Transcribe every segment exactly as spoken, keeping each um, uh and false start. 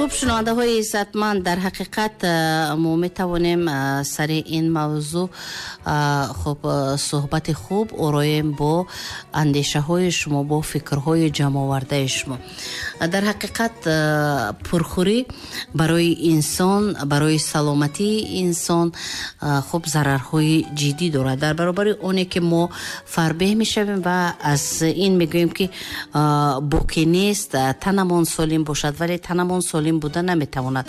Хуб, шунавандаҳои иззатманд, дар ҳақиқат мо метавонем сари ин мавзӯъ хуб суҳбати хуб ороем бо андешаҳои шумо, бо фикрҳои ҷамъовардаи шумо. Дар ҳақиқат пурхӯрӣ барои инсон, барои саломатии инсон хуб зарарҳои ҷиддӣ дорад. Дар баробари оне ки мо фарбеҳ мешавем ва аз ин мегӯем ки боке нест, танамон солим бошад, вале танамон солим буда наметавонад.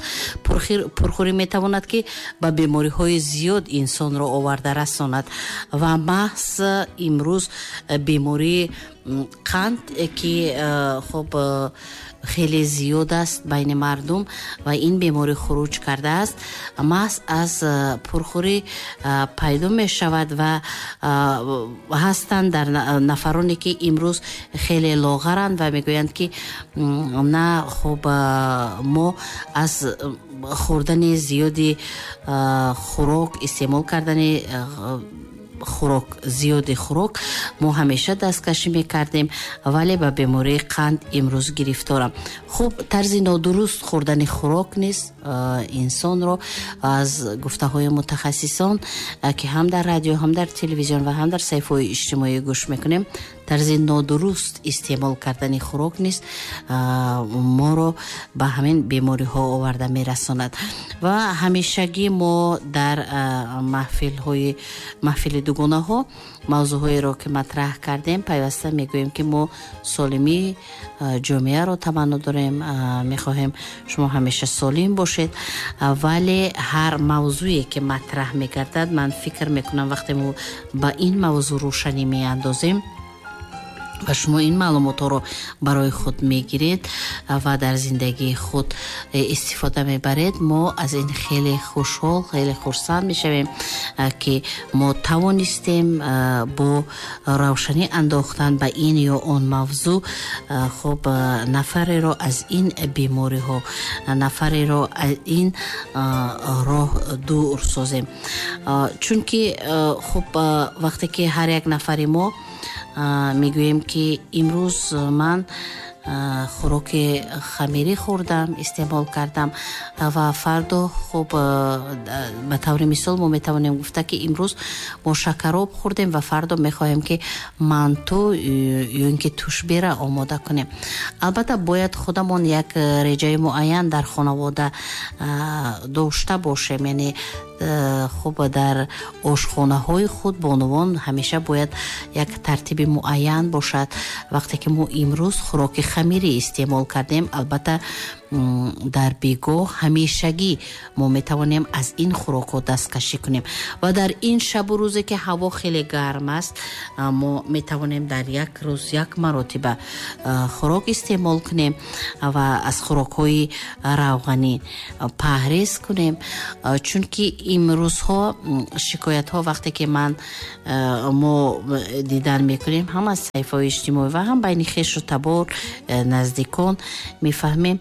Пурхӯрӣ метавонад ки ба бемориҳои зиёд инсонро оварда расонад ва маҳз имрӯз бемории қанд ки хуб хеле зиёд аст байни мардум ва ин беморӣ хуруҷ кардааст, маҳз аз пурхӯрӣ пайдо мешавад ва ҳастанд дар нафароне ки имрӯз хеле лоғаранд ва мегӯянд ки на, хуб мо аз хӯрдани зиёди хӯрок, истеъмол кардани хӯрок, зиёди хӯрок мо ҳамеша дасткашӣ мекардем, вале ба бемории қанд имрӯз гирифторам. Хуб, тарзи нодуруст хӯрдани хӯрок низ инсонро аз гуфтаҳои мутахассисон ки ҳам дар радио, ҳам дар телевизион ва ҳам дар саҳифаҳои иҷтимоӣ гӯш мекунем, тарзи нодуруст истеъмол кардани хӯрок низ моро ба ҳамин бемориҳо оварда мерасонад. Ва ҳамешагӣ мо дар маҳфилҳои маҳфили дугонаҳо мавзӯъҳоеро ки матраҳ кардем, пайваста мегӯем ки мо солимии ҷомеаро таманно дорем, мехоҳем шумо ҳамеша солим бошед, вале ҳар мавзӯе ки матраҳ мегардад, ман фикр мекунам вақте мо ба ин мавзӯъ рӯшанӣ меандозем ва шумо ин маълумотҳоро барои худ мегиред ва дар зиндагии худ истифода мебаред, мо аз ин хеле хушҳол, хеле хурсанд мешавем ки мо тавонистем бо равшанӣ андохтан ба ин ё он мавзӯъ хуб нафареро аз ин бемориҳо, нафареро аз ин роҳ дур созем. Чунки хуб вақте ки ҳар як нафари мо мегӯем ки имрӯз ман хӯроки хамирӣ хӯрдам, истеъмол кардам ва фардо хуб ба таври мисол мо метавонем гуфта ки имрӯз мо шакароб хӯрдем ва фардо мехоҳем ки манту ё ин ки тушбера омода кунем. Албатта бояд худамон як реҷаи муайян дар хонавода дошта бошем, яъне хуб дар ошхонаҳои худ бонувон ҳамеша бояд як тартиби муайян бошад. Вақте ки мо имрӯз хӯроки хамирӣ истеъмол кардем, албатта дар бегоҳ ҳамешагӣ мо метавонем аз ин хӯрокҳо дасткашӣ кунем ва дар ин шабу рӯзе ки ҳаво хеле гарм аст, мо метавонем дар як рӯз як маротиба хӯрок истеъмол кунем ва аз хӯрокҳои равғанӣ парҳез кунем, чунки имрӯзҳо шикоятҳо вақте ки ман мо дидан мекунем ҳам аз саҳифаҳои иҷтимоӣ ва ҳам байни хешу табор, наздикон мефаҳмем,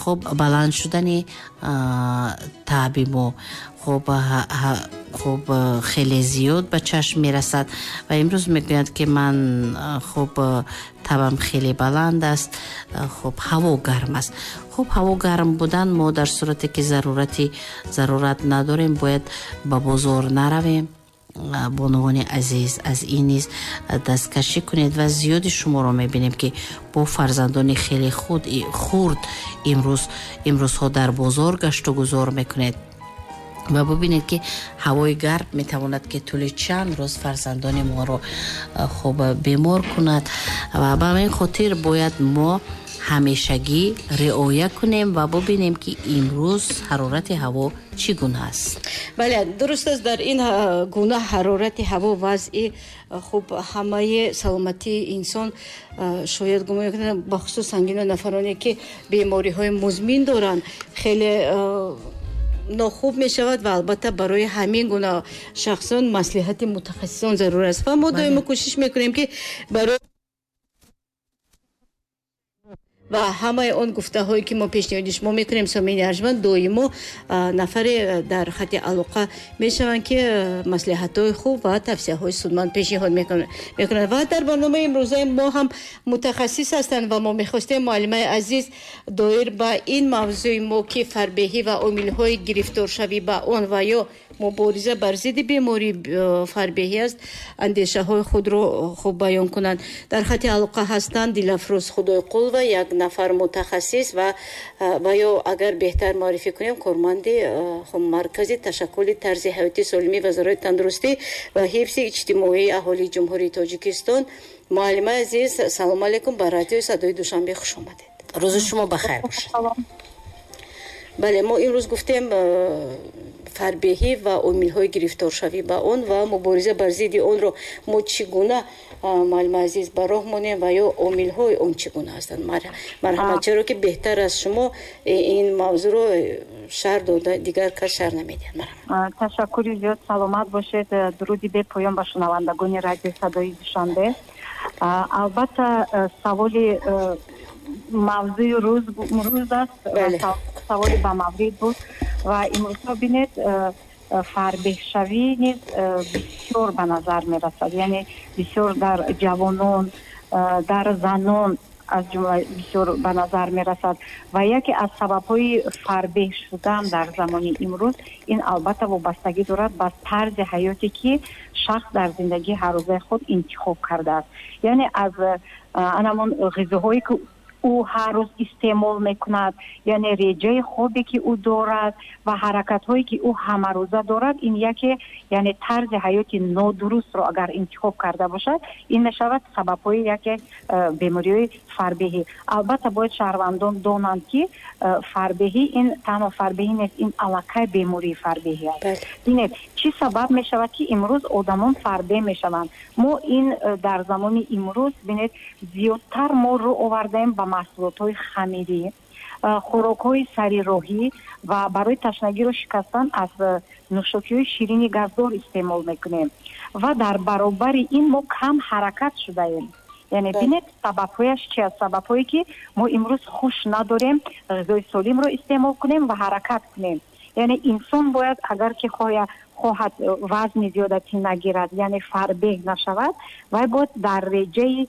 хуб баланд шудани таби мо хуб хуб хеле зиёд ба чашм мерасад ва имрӯз мегӯянд ки ман хуб табам хеле баланд аст, хуб ҳаво гарм аст. Хуб ҳаво гарм будан мо дар сурате ки зарурати зарурат надорем бояд ба бозор наравем. Бонувони азиз, аз ин низ дасткашӣ кунед ва зиёди шуморо мебинем ки бо фарзандони хеле худ хурд имрӯз имрӯзҳо дар бозор гашту гузор мекунед ва бубинед ки ҳавои гарм метавонад ки тӯли чанд рӯз фарзандони моро хуб бемор кунад ва ба ҳамин хотир бояд мо ҳамешагӣ риоя кунем ва бубинем ки имрӯз ҳарорати ҳаво чӣ гуна аст. Бале, дуруст аст, дар ин гуна ҳарорати ҳаво вазъи хуб ҳамаи саломатии инсон шояд гумон кунад, бахусус сангина нафароне ки бемориҳои музмин доранд, хеле нохуб мешавад ва албатта барои ҳамин гуна шахсон маслиҳати мутахассисон зарур аст ва мо доимо кӯшиш мекунем ки барои Ва ҳамаи он гуфтаҳое ки мо пешниҳоди шумо мекунем, сомини арҷманд, доимо нафаре дар хати алоқа мешаванд, ки маслиҳатҳои хуб ва тавсияҳои судманд пешниҳод мекунанд. Ва дар барномаи имрӯзаи мо ҳам мутахассис ҳастанд ва мо мехостем муаллимаи азиз доир ба ин мавзӯи мо, ки фарбеҳӣ ва омилҳои гирифторшавӣ ба он ва ё мубориза бар зидди бемории фарбеҳӣ аст, андешаҳои худро хуб баён кунанд. Дар хати алоқа ҳастанд Дилафрӯз Худойқулова, як нафар мутахассис ва ва ё агар беҳтар муаррифӣ кунем, корманди маркази ташаккули тарзи ҳаёти солимии Вазорати тандурустӣ ва ҳифзи иҷтимоии аҳолии Ҷумҳурии Тоҷикистон. Муаллимаи азиз, салому алайкум, ба радиои Садои Душанбе хуш омадед. Рӯзи шумо бахайр бошад. Бале, мо имрӯз гуфтем фарбеҳӣ ва омилҳои гирифторшавӣ ба он ва мубориза бар зидди онро мо чӣ гуна, муаллимаи азиз, ба роҳ монем ва ё омилҳои он чӣ гуна ҳастанд. Марҳамат, чаро ки беҳтар аз шумо ин мавзӯъро шарҳ дода дигар кас шарҳ намедиҳад. Марҳамат. Ташаккури зиёд, саломат бошед. Дуруди бепоён ба шунавандагони радиои Садои Душанбе. Албатта, саволи мавзӯи рӯз рӯз аст, саволи ба маврид буд ва имрӯзҳо бинед, фарбеҳшавӣ низ бисёр ба назар мерасад, яъне бисёр дар ҷавонон, дар занон аз ҷумла бисёр ба назар мерасад. Ва яке аз сабабҳои фарбеҳ шудан дар замони имрӯз ин албатта вобастагӣ дорад ба тарзи ҳаёте, ки шахс дар зиндагии ҳаррӯзаи худ интихоб кардааст, яъне аз анамон ғизоҳое ки ӯ ҳар рӯз истеъмол мекунад, яъне реҷаи хобе ки ӯ дорад ва ҳаракатҳое ки ӯ ҳамарӯза дорад. Ин яке, яъне тарзи ҳаёти нодурустро агар интихоб карда бошад, ин мешавад сабабҳои яке бемориҳои фарбеҳӣ. Албатта, бояд шаҳрвандон донанд, ки фарбеҳӣ ин танҳо фарбеҳӣ нест, ин аллакай бемории фарбеҳӣ аст. Бинед, чӣ сабаб мешавад, ки имрӯз одамон фарбеҳ мешаванд? Мо ин дар замони имрӯз, бинед, зиёдтар мо рӯ овардаем ба маҳсулотҳои хамирӣ, хӯрокҳои сарироҳӣ ва барои ташнагиро шикастан аз нӯшокиҳои ширини газдор истеъмол мекунем ва дар баробари ин мо кам ҳаракат шудаем. Яъне бинед, сабабҳояш чи аст? Сабабҳое ки мо имрӯз хуш надорем ғизои солимро истеъмол кунем ва ҳаракат кунем. Яъне инсон бояд, агар ки хоҳад хоҳад вазни зиёдатӣ нагирад, яъне фарбеҳ нашавад, вай бояд дар реҷаи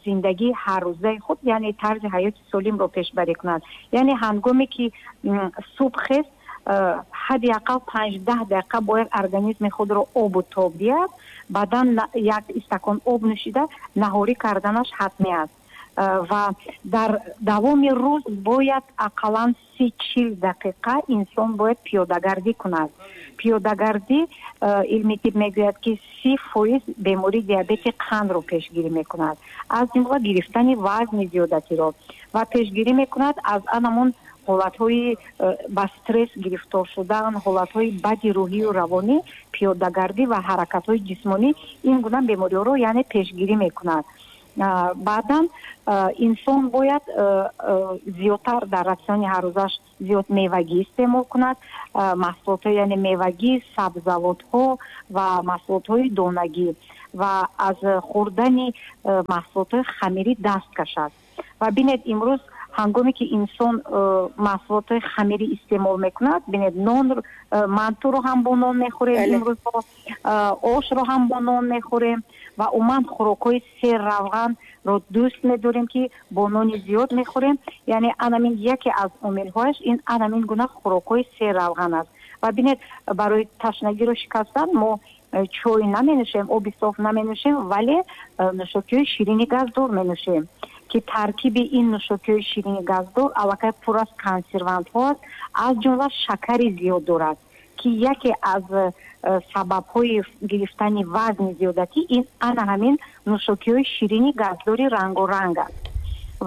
зиндагии ҳаррӯзаи худ, яъне тарзи ҳаёти солимро пешбарӣ кунад. Яъне ҳангоме ки субҳ хест, ҳадди ақал панҷ-даҳ дақиқа бояд организми худро обу тоб диҳад, баъдан як истакон об нӯшида наҳорӣ карданаш ҳатмӣ аст. Ва дар давоми рӯз бояд ақаллан си чил дақиқа инсон бояд пиёдагардӣ кунад. Пиёдагардӣ, илми тиб мегӯяд, ки си фоиз бемории диабети қандро пешгирӣ мекунад, аз ҷумла гирифтани вазни зиёдатиро, ва пешгирӣ мекунад аз анамон ҳолатҳои ба стресс гирифтор шудан, ҳолатҳои бади рӯҳию равонӣ. Пиёдагардӣ ва ҳаракатҳои ҷисмонӣ ин гуна бемориҳоро, яъне, пешгирӣ мекунад. Баъдан инсон бояд зиёдтар дар ратсиони ҳаррӯзаш зиёд мевагӣ истеъмол кунад, маҳсулотҳо, яъне мевагӣ, сабзавотҳо ва маҳсулотҳои донагӣ, ва аз хӯрдани маҳсулотҳои хамирӣ даст кашад. Ва бинед, имрӯз ҳангоме ки инсон маҳсулотҳои хамирӣ истеъмол мекунад, бинед, нон, мантуро ҳам бо нон мехӯрем имрӯз, ошро ҳам бо нон мехӯрем ва умуман хӯрокҳои серравғанро дӯст медорем, ки бо нони зиёд мехӯрем. Яъне анамин яке аз омилҳояш ин анамин гуна хӯрокҳои серравған аст. Ва бинед, барои ташнагиро шикастан мо чой наменӯшем, оби соф наменӯшем, вале нӯшокиҳои ширини газдор менӯшем, ки таркиби ин нӯшокиҳои ширини газдор аллакай пур аз консервантҳо аст, аз ҷумла шакари зиёд дорад, ки яке аз сабабҳои гирифтани вазни зиёдатӣ ин ана ҳамин нӯшокиҳои ширини газдори рангоранг аст.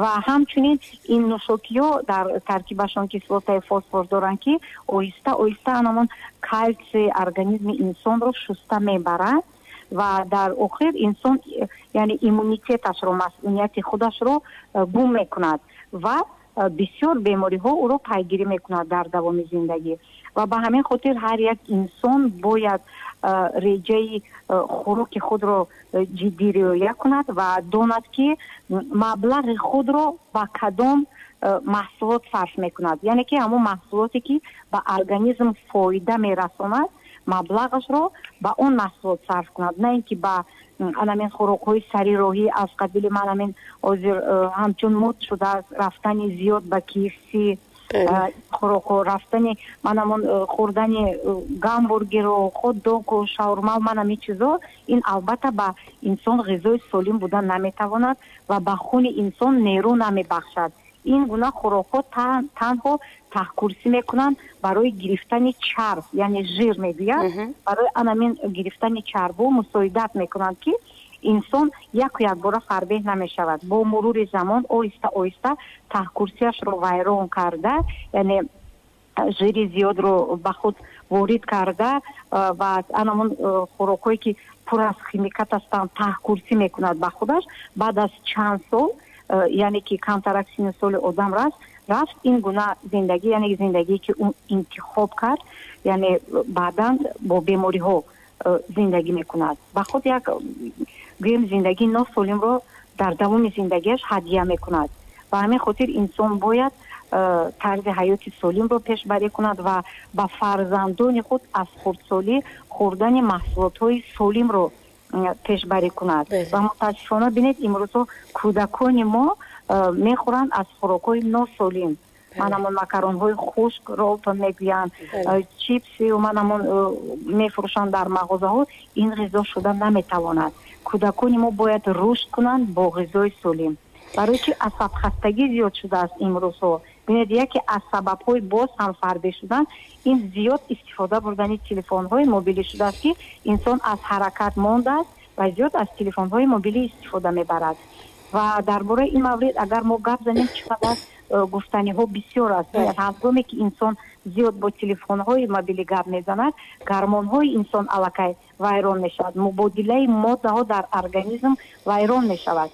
Ва ҳамчунин ин нӯшокиҳо дар таркибашон кислотаи фосфор доранд, ки оҳиста оҳиста анамон калсий организми инсонро шуста мебарад ва дар охир инсон, яъне, иммунитеташро, масунияти худашро гум мекунад ва бисёр бемориҳо ӯро пайгирӣ мекунад дар давоми зиндагӣ. Ва ба ҳамин хотир ҳар як инсон бояд реҷаи хӯроки худро ҷиддӣ риоя кунад ва донад, ки маблағи худро ба кадом маҳсулот сарф мекунад, яъне ки ҳамон маҳсулоте, ки ба организм фоида мерасонад, маблағашро ба он маҳсулот сарф кунад, на ин ки ба анамин хӯрокҳои сари роҳӣ аз қабили манамин ҳозир ҳамчун мод шудааст рафтани зиёд ба K F C, хӯрокҳо, рафтани манамон хӯрдани гамбургеру хот-догу шаурма, манам ин чизо. Ин албатта ба инсон ғизои солим буда наметавонад ва ба хуни инсон нерӯ намебахшад. Ин гуна хӯрокҳо танҳо таҳкурсӣ мекунанд барои гирифтани чарб, яъне жир мегӯяд, барои анамин гирифтани чарбу мусоидат мекунанд, ки инсон яку якбора фарбеҳ намешавад. Бо мурури замон оҳиста оҳиста таҳкурсияшро вайрон карда, яъне жири зиёдро ба худ ворид карда ва анамон хӯрокҳое, ки пур аз химикат ҳастанд, таҳкурсӣ мекунад ба худаш. Баъд аз чанд сол, яъне ки камтарак синну соли одам раст рафт, ин гуна зиндагӣ, яъне зиндагие, ки ӯ интихоб кард, яъне баъдан бо бемориҳо зиндагӣ мекунад, ба худ як гӯем зиндагии носолимро дар давоми зиндагиаш ҳадя мекунад. Ба ҳамин хотир инсон бояд тарзи ҳаёти солимро пешбарӣ кунад ва ба фарзандони худ аз хурдсолӣ хӯрдани маҳсулотҳои солимро пешбарӣ кунад. Ва мутаассифона, бинед, имрӯзҳо кӯдакони мо мехӯранд аз хӯрокҳои носолим, манамон макаронҳои хушк, ролтон мегӯянд, чипсию манамон мефурӯшанд дар мағозаҳо. Ин ғизо шуда наметавонад. Кӯдакони мо бояд рушд кунанд бо ғизои солим. Барои чи асабхастагӣ зиёд шудааст имрӯзҳо? Бинед, яке аз сабабҳои боз ҳам фарбеҳ шудан ин зиёд истифода бурдани телефонҳои мобилӣ шудааст, ки инсон аз ҳаракат мондааст ва зиёд аз телефонҳои мобилӣ истифода мебарад. Ва дар бораи ин маврид агар мо гап занем, чӣ қадар э, гуфтаниҳо бисёр аст. Ҳангоме ки инсон зиёд бо телефонҳои мобилӣ гап мезанад, гормонҳои инсон аллакай вайрон мешавад, мубодилаи моддаҳо дар организм вайрон мешавад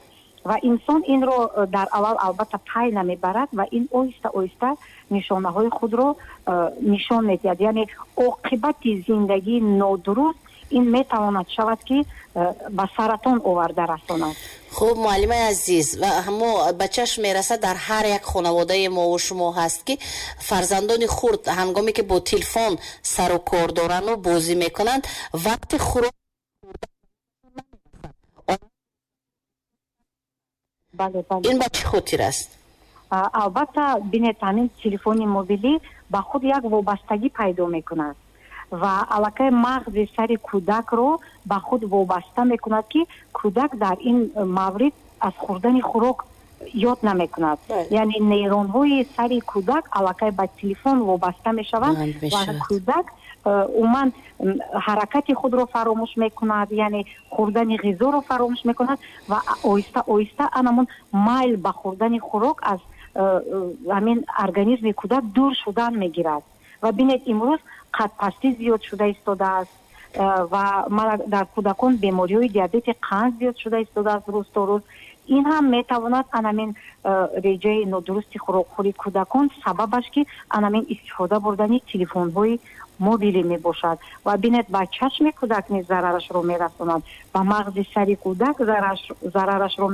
ва инсон инро э, дар аввал албатта пай намебарад ва ин оҳиста оҳиста нишонаҳои худро э, нишон медиҳад. Яъне оқибати зиндагии нодуруст ин метавонад шавад, ки э, ба саратон оварда расонад. Хуб, муаллимаи азиз, ва ҳамо ба чашм мерасад, дар ҳар як хонаводаи мову шумо ҳаст, ки фарзандони хурд ҳангоме ки бо телефон сару кор дорану бозӣ мекунанд, вақти хӯрок ин ба чӣ хотир аст? Албатта, бинед, ҳамин телефони мобилӣ ба худ як вобастагӣ пайдо мекунад ва аллакай мағзи сари кӯдакро ба худ вобаста мекунад, ки кӯдак дар ин маврид аз хӯрдани хӯрок ёд намекунад. Яъне нейронҳои сари кӯдак аллакай ба телефон вобаста мешаванд ва кӯдак э, умуман ҳаракати худро фаромӯш мекунад, яъне хӯрдани ғизоро фаромӯш мекунад ва оҳиста оҳиста анамон майл ба хӯрдани хӯрок аз э, э, ҳамин организми кӯдак дур шудан мегирад. Ва бинед, имрӯз қадпастӣ зиёд шуда истодааст ва дар кӯдакон бемориҳои диабети қанд зиёд шуда истодааст рӯз то рӯз. Ин ҳам метавонад анамин реҷаи нодурусти хӯрокхӯрии кӯдакон сабабаш, ки анамин истифода бурдани телефонҳои мобилӣ мебошад. Ва бинед, ба чашми кӯдак низ зарарашро мерасонад, ба мағзи сари кӯдак зарарашро